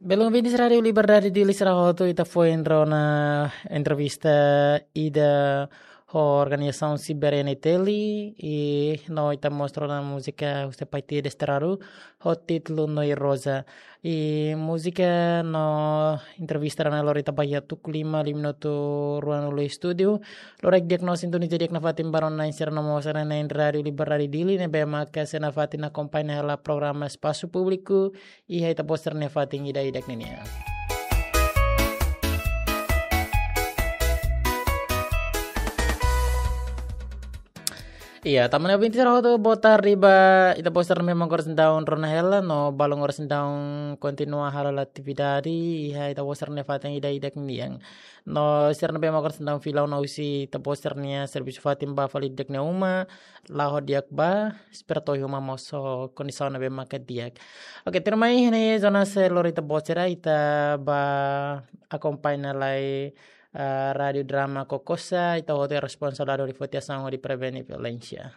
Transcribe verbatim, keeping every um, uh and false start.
Belun ouvintes Rádiu Liberdade Dili sira hotu, ita foin rona entrevista ida ho organizasaun Siber N T L, i no ita mós rona múzika husi Paixão Desterrado ho títulu Noi Rosa. I múzika no entrevista rona lori ita ba iha tuku lima, lima minutu ruanulu estúdiu. Loraik di'ak no sintoniza di'ak nafatin ba rona na'in sira no mós sira na'in Rádiu Liberdade Dili ne'ebé maka sei nafatin akompaña hela programa Espasu Públiku iha ita-boot sira-nia fatin ida-idak ninian. Iya, tanba ne'e ouvintes sira hotu, boa tarde ba ita-boot sira ne'ebé mak agora seidauk rona hela, no balun agora seidauk kontinua hala'o atividade iha ita-boot sira-nia fatin ida-idak ninian. No sira ne'ebé mak agora seidauk fila ona husi ita-boot sira-nia servisu fatin ba fali di'ak nia uma, la'o di'ak ba, espera to'o iha uma mós ho kondisaun ne'ebé maka di'ak. Oke, tuirmai iha ne'e jornál seluk lori ita-boot sira, ita ba akompaña lai, ah, Rádiu Drama Kokosa, ita hotu responsavel hodi foti asaun hodi prevene violénsia.